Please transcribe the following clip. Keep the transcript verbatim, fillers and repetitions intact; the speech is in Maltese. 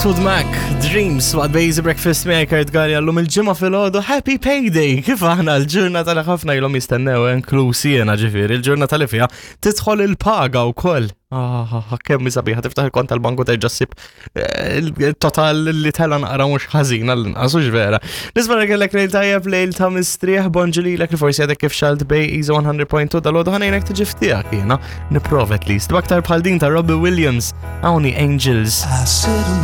Fleetwood Mac, Dreams, waqt Bejzi Breakfast miegħi Kurt Galli għallum il-ġimgħa filgħodu Happy Payday. Kif aħna l-ġurnata li ħafna ilhom jistennew inklusi jiena ġifieri, il-ġurnata li fiha tidħol il-paga wkoll. Ah, kemm sabiħa tiftaħ il-kont tal-banku terġa' ssib eh, il-total li tela naqra mhux ħażin għall-inqas hux vera. Nispera kellek lejl tajjeb lejl ta' mistrieħ bonġu lilek li forsi għadek kif xalt bej Easy one hundred point two dal-għodu ħa ngħinek tiġi f'tiegħek jiena nipprova at least. B'aktar bħal din ta' Robbie Williams, hawn hi Angels. I sit